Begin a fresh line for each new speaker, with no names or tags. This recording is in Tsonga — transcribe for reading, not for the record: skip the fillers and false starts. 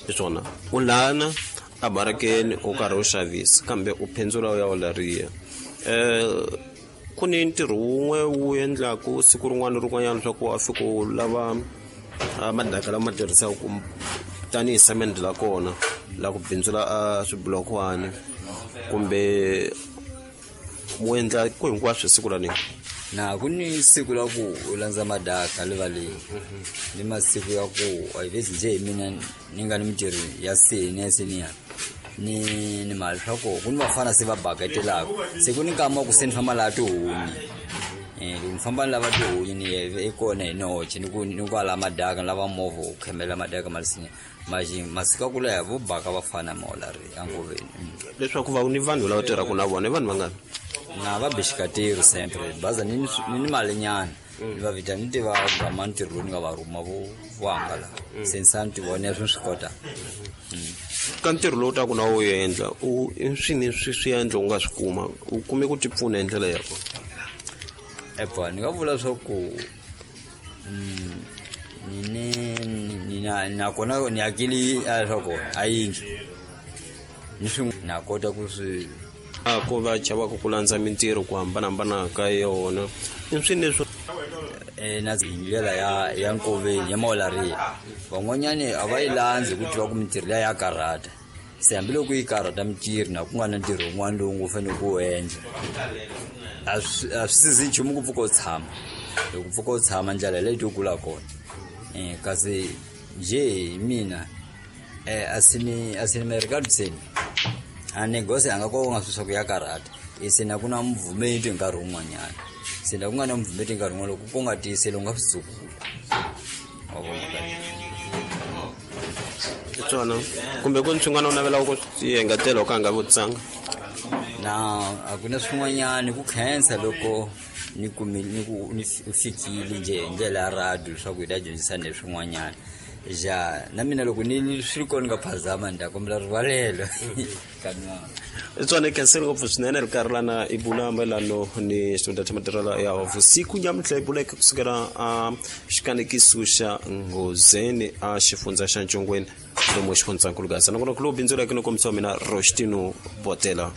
Hi swona u lana a barakeni u karhi u xavisa kambe u phendzula u ya u lariya ku ni ntirho wun'we wu endlaku siku rin'wana ni rin'wanyana leswaku wa fika u lava madaka lama tirhisaka ku tanihi semende la kona la ku bindzula a swibulokwani kumbe mu endla ku hinkwaswo siku ra nini?
Na ku ni siku la ku u landza madaka livaleni ni masiku ya ku a hi vezi njhe hi mina ni nga ni mintirho ya seni ya seniya ni ni mali swa koho ku ni vafana se va baketelaka se ku ni nkama wa ku se ni famba laha tihunyi loko ni famba ni lava tihunyi ni ye kona hi noxe ni ku ni kwala madaka ni lava movha wu khemela madaka ma lisinya maxi masiku ya ku leha vo baka vafana maolari enkoveni.
Leswaku va ni vanhu lava tirhaka na vona i vanhu vangani?
Na va bexikateri sempre baza ni ni malinyana ni va vitana ni tiva gama ntirho lowu ni nga va rhuma vo vo hangala se ni sa ni tivona swi swi kota.
Ka ntirho lowu taku na wu endla u i swini swi swi endla u nga swi kuma u kume ku ti pfuna hi ndlela ya kona?
Epa ni nga vula swa ku ni ni na nakona ni akili a swa kona a yindlu ni swi na kota ku swi
a ku va chavaka ku landza mintirho ku hambanahambana ka yona i swini leswi
na hi ndlela ya ya nkoveni ya maolariya van'wanyani a va yi landzi ku tiva ku mintirho liya ya karhata se hambiloko yi karhata mintirho na ku nga na ntirho wun'wana lowu ngo fanele ku wu endla a swi a swi sizi nchumu ku pfuka u tshama loko pfuka u tshama ndlela leyi to kula kona kasi njhe hi mina a sini merikaluseni a negosi a nga ko nga swi swa ku ya karhata se na ku na muvhumeti nkarhi wun'wanyana se na ku nga na muvhumeti nkarhi wun'wana loko ku nga tiyiseli u nga swi dzukula wa vona kahle.
Hi swona kumbe ku ni swin'wana u navelaka ku swi engetela u ka nga vutisanga?
Na a ku na swin'wanyana ku khensa loko ni kumile ni ku ni fikile njhe hi ndlela ya radio leswaku hi ta dyondzisana hi swin'wanyana ja na mina loko ni swi ri kona ni nga phazama ni ta kombela rivalelo ka nwana.
Tswana khensile ngopfu swinene ri karhi lana i bula mayelano ni xitunda xa matirhelo ya vusiku nyamuntlha i buleke kusukela a xikanekiso xa Nghozeni a xifundza xa Ncongweni lomu xifundzankulu Gaza nakona ku lowu bindzuleke no kombisa wa mina Roshtino Botela.